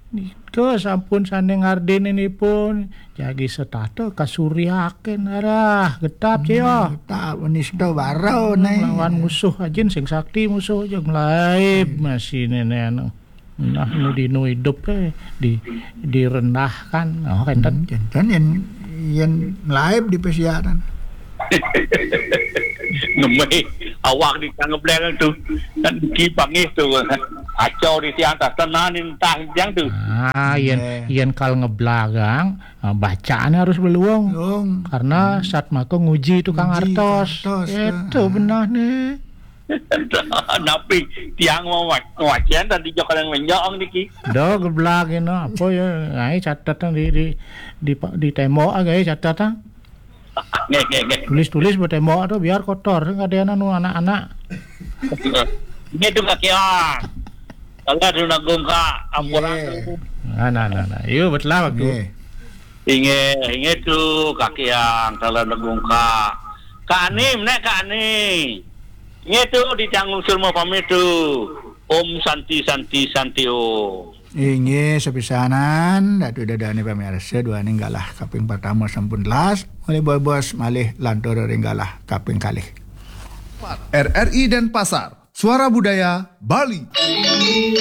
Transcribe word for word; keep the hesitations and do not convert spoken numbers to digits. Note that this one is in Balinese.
Nika sampun sane ngardenin ipun, jagi setata kasuryaken arah, getap, Ceo. Getap, nista barau, Hmm, ne. Lawan musuh ajin sing sakti musuh, jeg mlaib masih nene anu. Nah, nu dinu idup, eh, di, direndahkan. Oh, kenten. Hmm, kenten yen, yen mlaib di pesiaran. Ngemih awak di kang ngebleng tu. Kan diki pangih tu. Acau di tiang tas tenan entah tiang tu. Ah, yen, Nggih. Yen kal ngeblagang, ah, bacaannya harus beluung. Luung. Karena satmaka nguji tukang Nguji artos. Artos, Itu ah. Benah nih. Napi tiang mau wac-, wacen tadi jok yang menjong niki. Do geblak ino apa ya? Ngai catetan di, di, di, di tembok aja ya catetan. Nggih, nggih, nggih. Tulis-tulis buat tembok tu biar kotor. Sing ada anu anak-anak. Ini tu kaki ah. Kalau ada nak gongkak, ampuran Nggih. Tu. Nah, nah, nah, nah. Yo, betul lah waktu. Nggih. Inggih, inggih tu kaki yang kalau nak gongkak. Kak Ani, menek Kak Ani. Inggih tu di tanggung semua pamit tu. Om Santi, Santi, Santi Om. Inggih, sepisanan, Datu Dadane pamirsa, duaning galah kaping pertama sampun telas, malih bobos, malih lantur ring galah kaping kalih. R R I Denpasar, Suara Budaya Bali.